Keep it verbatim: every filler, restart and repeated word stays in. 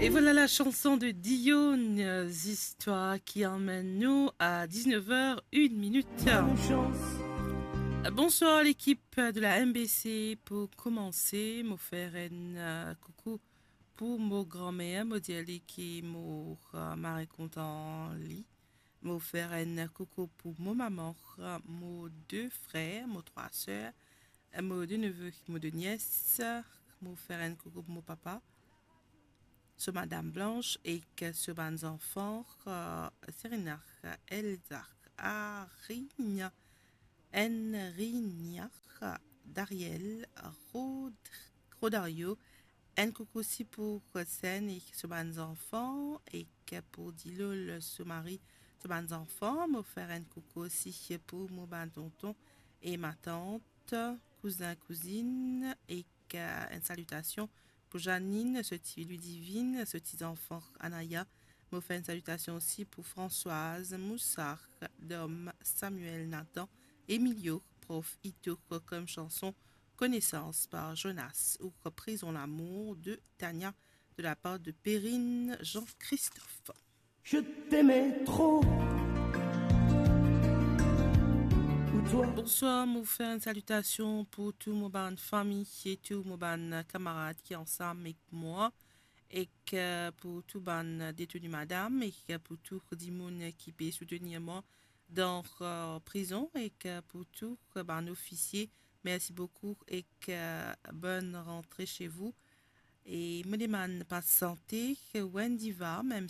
Et voilà la chanson de Dionne, euh, Zistwar, ki amenn nou a dix-neuf heures une minute. Bonswar lekip de la M B C. Pou koumanse, mo fer enn, euh, koukou pou mo granmer, mo dir li ki mo, euh, mari kontan li. Mo fer enn koukou pou mo mama, mo de frer, mo trwa ser, mo de neve, mo de nies. Mo fer enn koukou pou mo papa, so madam Blanche ek so bann zanfan, euh, Serena, Elza, Arinia, Enrinia, Dariel, Rod-, Rodario. Enn koukou osi pou Sen ek so bann zanfan, ek pou Dilol, so mari, so bann zanfan. Mo fer enn koukou osi pou mo bann tonton e matant, kouzin, kouzinn, ek, euh, enn salitasion pou Janine, so ti Ludivine, so ti zanfan Anaya. Mo fer enn salitasion osi pou Françoise, Moussa, Dom, Samuel, Nathan, Emilio, prof Ito, kom chanson Connaissance par Jonas ou Prison lamour de Tania de la part de Perrine Jean-Christophe. Je t'aimais trop. Pour toi. Bonswar, mo fer enn salitasion pou tou mo bann fami e tou mo bann kamarad ki ansam ek mwa, ek, euh, pou tou bann deteni madam, ek pou tou dimoun ki pe soutenir mwa dan, euh, prizon, ek pou tou bann ofisie. Mersi boukou ek, euh, bonne rentrée chez vous. E mo demann pas sante Wendy va, mem